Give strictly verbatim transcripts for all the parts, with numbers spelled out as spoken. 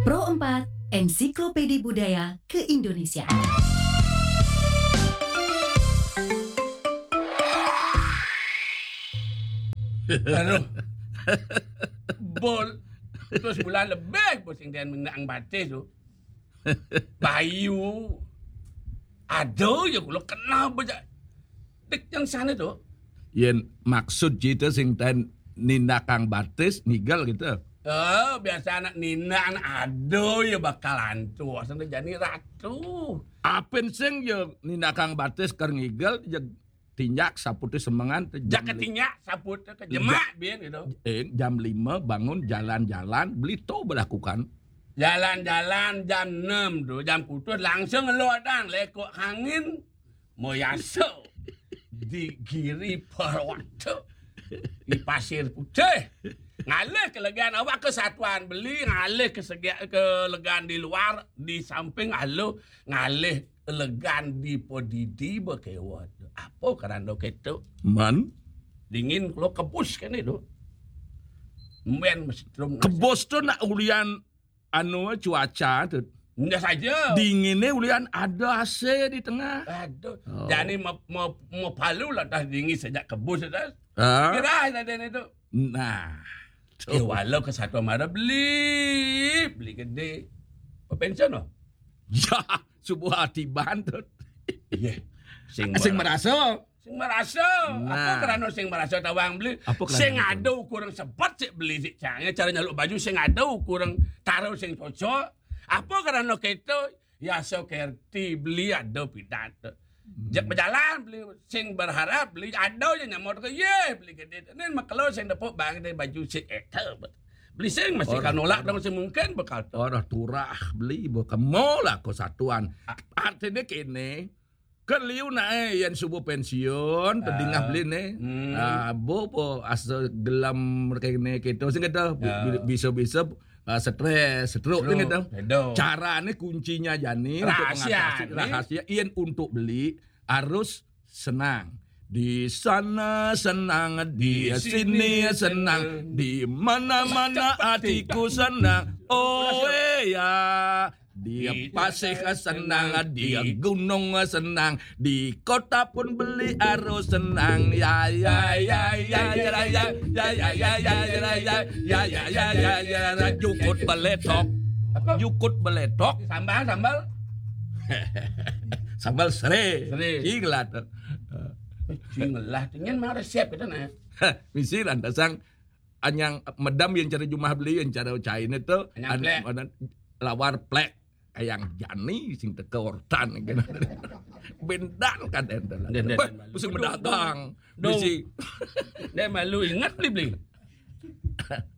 Pro empat, Ensiklopedi Budaya Keindonesiaan. Aduh. Bol. Terus bulan lebih bos sing den menang batis tu. Bayu. Aduh, ya kula kena bejak. Dik yang sana tu. Yen maksud cerita sing ten nindakang batis ngigel gitu. Oh, biasa anak nina anak aduh ya bakal antu. Sana jani ratu. Apin sing ya nindakang batis ker ngigel ya tinjak saputih semengan te Jak jam li- ketinjak saput ke jemak bin gitu. eh, jam lima bangun jalan-jalan beli to berlakukan. Jalan-jalan jam enam tu, jam putus langsung ngeluar dan lekok angin moyaso di Giri Parwata di Pasir Putih. Ngalih ke legan awak kesatuan beli, ngalih ke segi ke legan di luar, di samping alu ngalih legan di podidi bekewa. Apa kerana ketu? Man, Dingin kalau kebus kan itu. Men mesti terus kebos tu nak ulian anu cuaca tu. Ndak saja. Dinginnya ulian ada A C di tengah. Aduh. Oh. Jadi mau mau mau palu lah dah dingin sejak kebus dah. Ha? Kira tadi itu. Nah. Eh, walau ke satu mara beli, beli gede. Pensiun loh. Ya, sebuah atiban tu. Iya. Sing Sing mara- merasa. Sing merasa. Apa Nah. Kerana sing merasa tawang beli? Apa kerana Sing itu? Ada kurang sebat sik beli sik cang. Cara nyaluk baju sing ada kurang taruh sing cocok. Apa kerana ketu? Ya so kerti beli ada pidat. Jak berjalan beli sing berharap beli ada je nyamot ke ye beli gede. Nen makelo sing depuk bang de baju sik eta. Beli sing masih Orang- kan nolak dong sing mungkin bekal tu. Orang turah beli bo kemo lah ko satuan. Artinya kene ke liu nae yang subuh pensiun terdingah beli ne. Hmm. Ah, bo bo asa gelam kene kita sing kata Ya. bisa-bisa ah, stres, stroke Stroke, sing kata. betul. Carane kuncinya jani untuk Rahasia mengatasi ni. Rahasia yen untuk beli harus senang. Di sana senang, di Di sini sini senang, senang. Di mana-mana hatiku senang. Oh eh, ya, di Di pasir desa senang, senang, di di gunung senang, di kota pun beli harus senang. Ya ya ya ya ya ya ya ya ya ya ya ya ya ya ya ya ya jukut beletok. Apa? Jukut beletok. Sambal sambal. Sambal sere. Sere. Inglat. Sing lah, tinggal mau resep kita nah. Misi lantasang anyang medam yang cara jumah beli yang cara cain itu Anyang plek. Lawar plek kayang jani sing teka ortan gitu. Bendan kan enten. Den, den, den, Mesti dong, berdagang. dong. Mesti Dia malu ingat beli beli.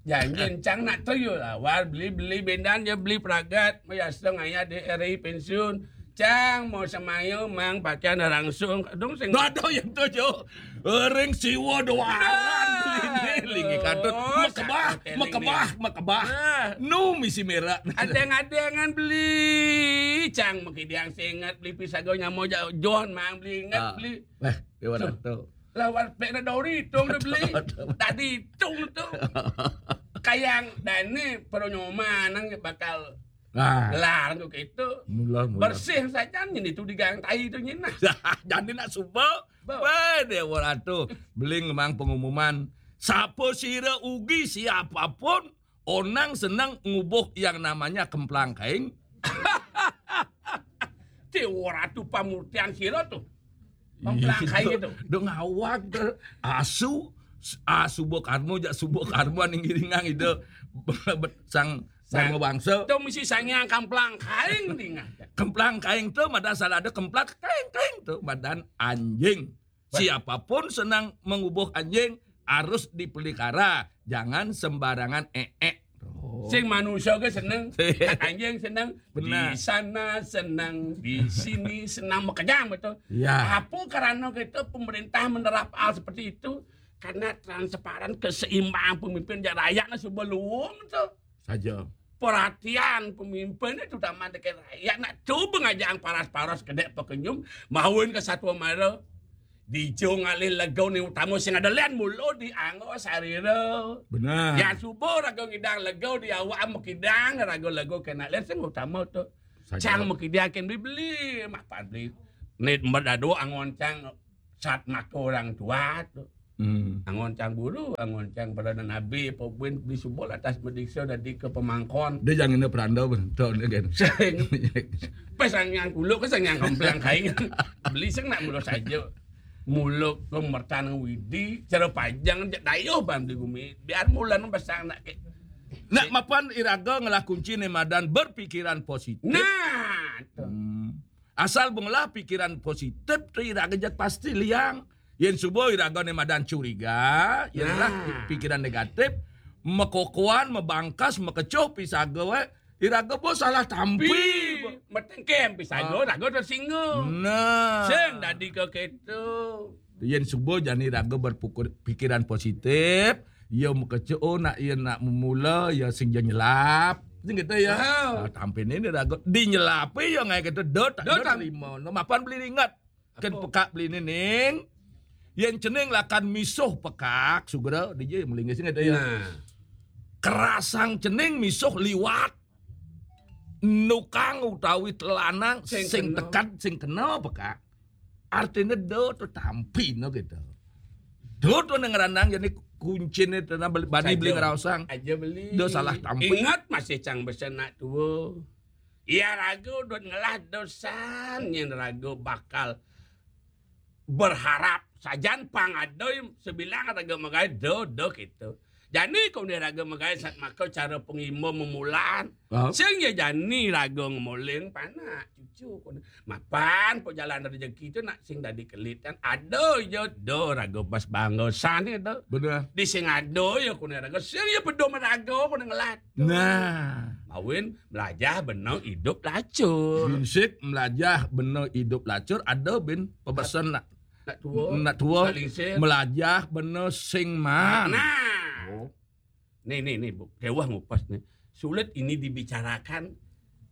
Janji cang nak tu yo lah. War beli beli bendan dia beli peragat. Maya setengah ya di R I pensiun. Cang mau semayo mang pakaian langsung. Dong sing Nggak ada yang tu jo. Ring siwa doaran beli ni lingi katut. Mekebah, mekebah, mekebah. Ah. Nu misi merah. Adeng-adengan beli cang maki diang singet beli pisago nyamo ja- John mang beli inget Ah. beli Eh, dia orang tu. Lawan pek na dori tung dia beli. Tadi tung tu. Kayang dani peronyoman nang bakal Nah, gelar tu gitu. mula mula. Bersih saja nyen itu digang tai tu nyen nah. Jadi nak suba. Bo. Weh, dia orang tu. Beli memang pengumuman. Siapa sira ugi siapapun onang senang ngubuh yang namanya kemplang kaing. Ti ora tu pamurtian sira tu. Pamplangkai gitu. Dong awak tu. Asu asu bo karmo jak subo karmo ning giringang itu. Sang Dharma Wangsa. Tu mesti sangyang kamplang kaing dingah. Kemplang kaing tu mada salah ada kemplang kaing kaing tu madan anjing. Siapapun senang mengubuh anjing harus dipelihara, jangan sembarangan ee. Sing manusia ke seneng, anjing seneng. Benar. Di sana seneng, di sini senang makejang betul. Ya. Apa karena kita pemerintah menerap hal seperti itu? Karena transparan keseimbangan pemimpin jak rakyat lah sebelum tu. Saja. Perhatian pemimpin itu utama dekat rakyat nak cuba ngajak paras-paras kedek pekenyum mahuin ke satu mara. Dija ngalih lega né utama sing ada lén mula di angga sarira. Benar. Yan suba raga ngidang lega di awak makidang raga lega kénak lén sing utama tu. Saja. Cang makidang kén beli-beli, mapan beli. Né medado angon cang sat maka orang tua tu. Hmm. Angon cang guru, angon cang pradana nabi, apa buin beli suba lantas madiksa dadi ka pamangkon. Dia jangan ada peranda pun. Tahu dia kan. Sing. Pas sang yang kuluk ke sang yang kemplang kain. Beli sing nak mula saja. Mula ke mertan widi, cara panjang jak dayuh bang di gumi. Biar mula nang pasang nak ke. Nak mapan iraga ngelah kunci né madan berpikiran positif. Nah, tu. Hmm. Asal ba ngelah pikiran positif tu iraga jat pasti liang. Yén suba iraga né madan curiga, yén ngelah pi-, pikiran negatif, makokohan, mabangkas, makecuh pisaga wé, iraga ba salah tampi. Pi, matengkem pisaga, ah, raga tersinggung. Nah. Sing dadi ka kéto. Yén suba jani raga berpikir-, pikiran positif, ya makecuh, oh, nak, ya nak memula, ya sing ja nyelap. Sing kéto ya. Ah. Ah, tampi né raga dinyelapé ya ngaé kéto, da tak da terima. No, mapan beli ingat. Kén apa? Pekak beli nining. Yén cening lakar misuh pekak, sugra, dija malinggih sing ada ya. Nah. Kerasang cening misuh liwat. Nukang utawi telanang sing tekad, sing kena pekak. Artiné da tu tampi no kéto. Da tu nang ranang jani kunciné tanah beli, bani beli ngeraosang. Aja beli. Da salah tampi. Ingat masih cang besen nak tua. Ya raga dot ngelah dosan yén raga bakal berharap sajan pang ada sebilang raga magaé da, da kéto. Jani koné raga magaé sat maka cara pengimba memulaan. Ah. Sing ya jani raga ngemoling panak cucu koné. Mapan pejalan rezeki tu nak sing dadi kelit kan. Ada ya da raga pas bangga san ya da. Benar. Di sing ada ya koné raga. Sing ya pedom raga koné ngelat. Nah. Mawin melajah bena idup lacur. Binsik melajah bena idup lacur, ada bin pebesan nak, nak tua. Nak tua. Nak lingsir. Melajah bena sing man. Nah. Oh. Nih, nih, nih, Bu. Kewah ngupas nih. Sulit ini dibicarakan.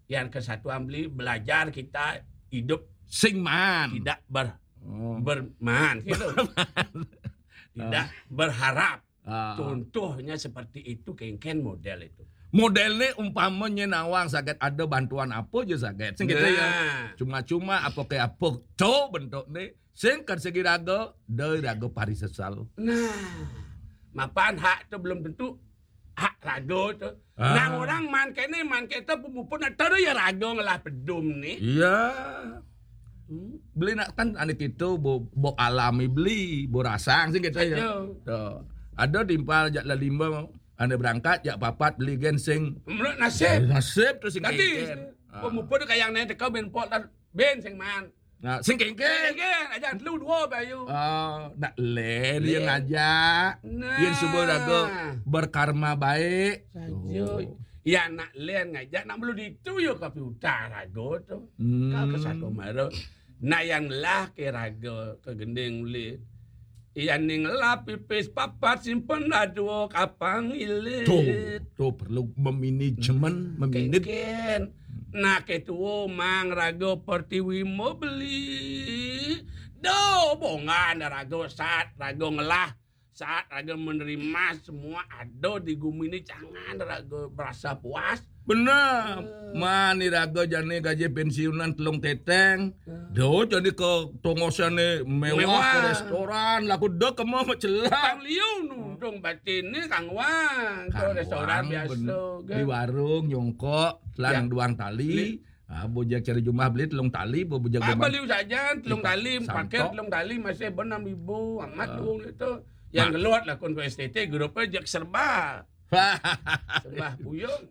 Yang kesatuan beli belajar kita hidup sing man. Tidak ber-, oh, berman gitu. Tidak, ah, berharap. Ah. Contohnya seperti itu, kéngkén model itu. Model né umpamanya nawang saget ada bantuan apa aja saget. Sing gitu ya. Nah. Cuma-cuma apa ke apa. Tuh bentuk né. Sing kan segi raga, da raga pari sesal. Nah. Mapan hak tu belum tentu hak raga tu. Ah. Nang orang man kéné, man kéto pemupun ada ya raga ngelah pedum né. Iya. Hmm. Beli nak kan ané kéto bo, bo alami beli, bo rasang sing kéto ya. Aduh. Tuh. Ada timpal jak lalimba, ané berangkat jak papat beli gén sing. Menurut nasib. Nasib tu sing dadi, kéngkén. Ah. Pemupun tu kayang né teka bin pok tar bin sing man. Nah, sing kéngkén. Sing kéngkén, aja telu dua bayu. Ah, nak lén, lén. Yang ngajak. Nah. Yang subuh raga berkarma baik. Saja. Oh. Ya nak lén ngajak, nak melu ditu ya kopi utara raga tu. Hmm. Kau ke satu mara. Nah, yang lah ke raga, ke gending uli. Iya ning lah pipis papat simpen dah dua kapang ilit. Tuh, tuh perlu memanajemen, hmm, meminit. Kéngkén. Nah, ketua mang raga pertiwi mau beli. Do, bongan raga sat, raga ngelah. Saat raga menerima semua ada di gumi ini, jangan raga merasa puas. Benar. Eh. Mani raga jani gaji pensiunan telung teteng. Eh. Do jani ke tongosané mewah, mewah. Ke restoran, laku do kema macelah. Kang Liu nudung batin ni Kang Wang, ke restoran biasa, bener. Di warung nyongkok, telan duang tali. Ah, bujak cari jumah beli telung tali, bu-, bujak. Ah, beli saja telung tali, pakai telung tali masih enam ribu amat, ah, dong itu. Yang keluar lah kon ke S T T, grupnya jak serba. Serba puyung.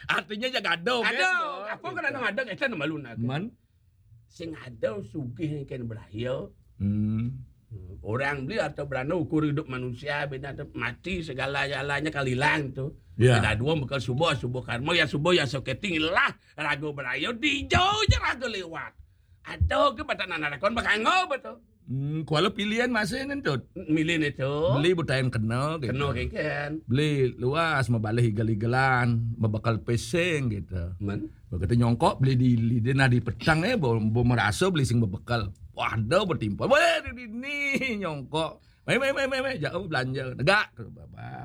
Artinya jak ada, kan? Ada. Apa kan ada, ada kita nama lu nak. Man? Sing ada sugih kén beraya. Hmm. Hmm, orang beli atau berana ukur hidup manusia, bina tu mati segala-galanya kalilang tu. Ya. Ada dua bekal subuh, subuh karma, ya subuh ya soketing lah raga beraya dijau je raga lewat. Ada ke batang anak lakon bakangau betul. Hmm, kuala pilihan masih ngentut. Milih itu. Beli buta yang kena gitu. Kena kéngkén. Beli luas, mabalih igel-igelan, mabekal pesing gitu. Men? Begitu nyongkok beli di, di, di, nah di petang eh, bo, bo merasa beli sing bebekal. Wah, ada betimpal. Weh, di dini nyongkok. Mai, mai, mai, mai, mai. Jauh belanja. Negak.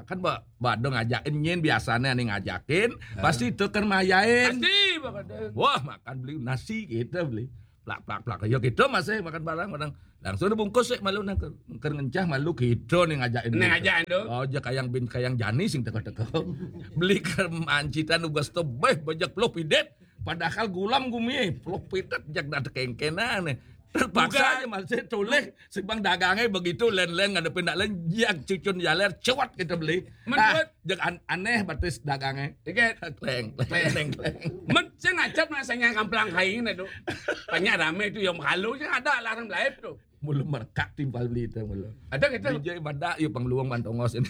Kan ba, ba ada ngajakin nyin, biasanya ane ngajakin. Pasti teken mayain. Pasti, Bang Kadek. Wah, makan beli nasi kita beli. Plak, plak, plak. Ya kita masih makan barang, barang. Langsung dibungkus sih malu nang ker, ker ngencah malu kita nih ngajakin. Nih beli. Ngajakin tuh. Oh, ja kayang bin kayang jani sing teka-teka. Beli ker mancitan ugas tebeh bajak puluh pidet. Padahal gulam gumi, puluh pidet jak dah tekengkenan nih. Terpaksa aja masih toleh, si bang dagangnya begitu len-len ngadepin nak len, jak cucun jaler, cewat kita beli. Ah, jak an, aneh batis dagangnya. Dikit. Kleng, kleng, kleng, kleng. Men, saya ngacap nak saya kamplang kain itu. Banyak rame itu yang halu, saya ada larang lain tuh. Mulu merekak timpal beli itu mulu. Ada gitu. Bijai badak, yuk pang luang bantongos ini.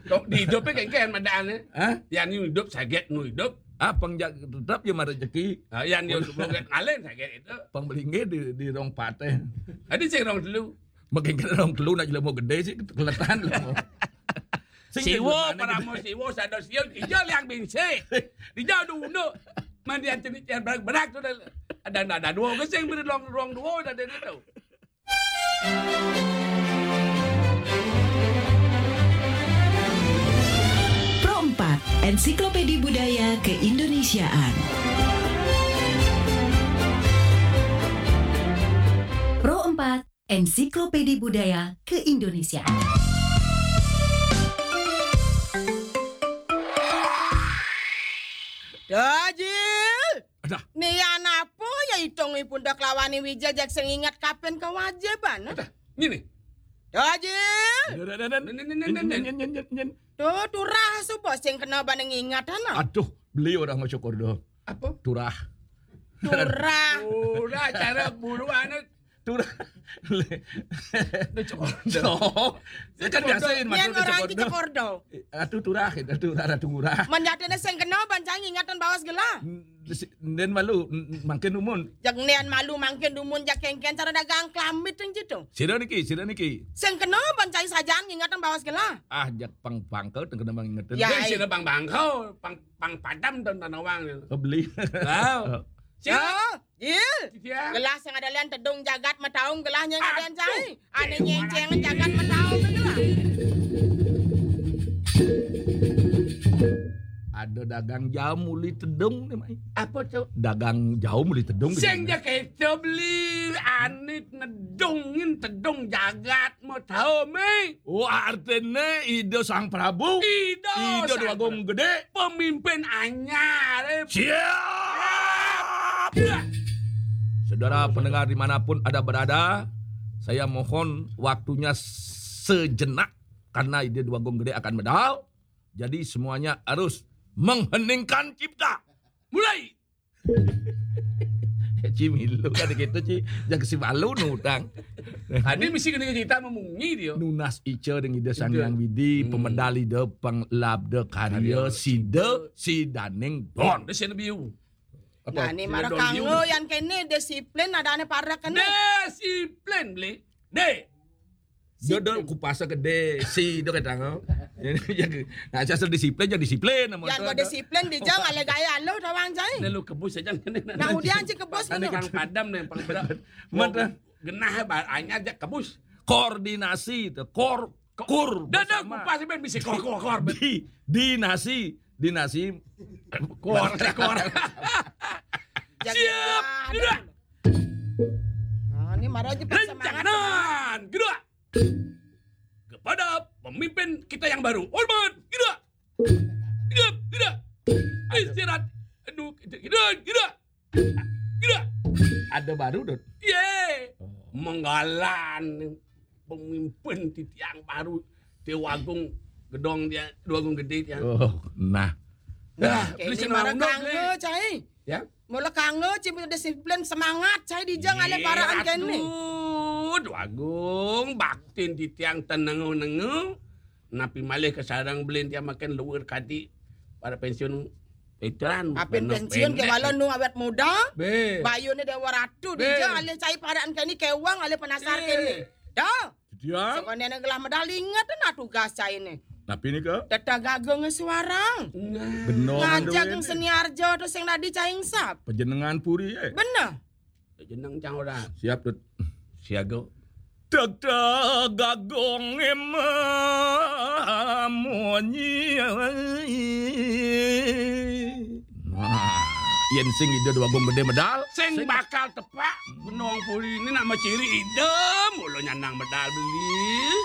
Tok di hidupnya kayak kan madaan ya. Hah? Yang hidup saget nu hidup. Ah, pang jak tetap ya marejeki. Ah, yang dia sebelum kan ngalen saget itu. Pang belingge di, di rong pateh. Ada sih rong telu. Makin kena rong telu nak jelema gede sih kelihatan lu. Siwo, paramo siwo, sada siwo, ija liang binsik. Ija dunu. Mandian cenik yang berak-berak tu dah. Ada, ada dua gesing beri ruang, ruang dua dah dia tu. Pro empat, Ensiklopedi Budaya Keindonesiaan. Pro empat, Ensiklopedi Budaya Keindonesiaan. Dajil! Adah. Nian apa ya itung ipun dah kelawani Wijil jak sing ingat kapan kewajiban? Adah, ini nih. Dajil! Nen, nen, nen, nen. Nen, nen, nen, nen. Tuh, turah suba sing kena baneng ingat ana. Aduh, beli orang mau syukur doh. Apa? Turah. Turah. Udah cara buruan turah. Udah cukup. Saya kan biasain Nian masuk orang syukur ki doh. Cekordo. Ratu turah, itu turah, ratu ngurah. Menjatine sing kena bancang ingatan bawas gelah. Dan malu, makin umun. Jak nian malu mangkin dumun jak kengken cara dagang kelamit yang gitu. Sira niki, sira niki. Sing kena bancang sajaan ingatan bawas gelah. Ah, jak pang bangkel tengkena bang ingetin. Ya. Wis sira bang bangkau, pang pang padam dan tanawang. Beli. Wow. Ya, Jil. Iya. Gelah sing ada lian tedung jagat metaung gelah nyeng ada lian cai. Ane nyeng jagat metaung gelah. Ada dagang jauh muli tedung nih, Mai. Apa tuh? Dagang jauh muli tedung. Sing ja kita beli anit nedungin tedung jagat mau tahu mi. Oh, artinya ide Sang Prabu. Ide Ide Sang Dwagung Gede. Pemimpin anyar. Eh. Siap. Saudara pendengar dimanapun ada berada, saya mohon waktunya sejenak karena ide Dwagung Gede akan medal. Jadi semuanya harus mengheningkan cipta. Mulai. Ci milu kan gitu, Ci. Jangan si malu nutang. Tadi mesti kena cerita memungi dia. Nunas ica dengan ide Sang Hyang Widi, pemedal ide, panglabda karya, sida, sidaning don. Dia sih biu. Nah, ni marah kanggo yang kene disiplin ada ane parak kene. Disiplin beli. Dek. Dia dah kupasa gede, si dia kata ngau. Nah, asal disiplin, jadi disiplin nama Yang kau disiplin di jang ale gaya lo tawang jai. Lalu kebus aja. Nah, udah anjing kebus Ada ngono. Kang Padam nih paling berat. Mata. Genah ba- anyar aja kebus. Koordinasi itu, kor, kur. Dah dah Bersama. Kupas ben bisa kor kor kor. Di, dinasi, dinasi. Kor kor. Jadi, Siap. wah, Gerak. Nah, ini marah aja pas semangat. Rencangan. Gerak. Kepada pemimpin kita yang baru. Hormat. Gerak. Gerak. Gerak. Istirahat. Aduh, gerak. Gerak. Gerak. Ada baru, Dut. Ye. Menggalan pemimpin titiang baru. Dewagung gedong dia, Dewagung gede dia. Oh, nah. Nah, Kene marah kanggo cai. Ya. Mula kanggo cipta disiplin semangat cai di jang ale paraan kene. Aduh, Dewagung baktin titiang tenengu-nengu. Napi malih ke sarang belin tiang makin luwir kadi para pensiun veteran. Apin pensiun ke wala nu awet muda. Be. Bayune Dewa Ratu di Be. jang ale cai paraan kene kewang ale penasar Be. kene. Dah. Dia Sebenarnya gelah medal inget nah tugas cai ini. Tapi ni ke Tetagaga ngesuarang. Nah. Benar. Ngajak seniarjo tu sing tadi cai sap. Pejenengan puri eh. Bener. Jeneng cang ora. Siap, Dut. Siaga. Teg-teg agung em munyi. Nah, yen sing Ida Déwa Agung Gedé medal, sing bakal tepak benung puri ini nak maciri Ida mula nyanang medal beli.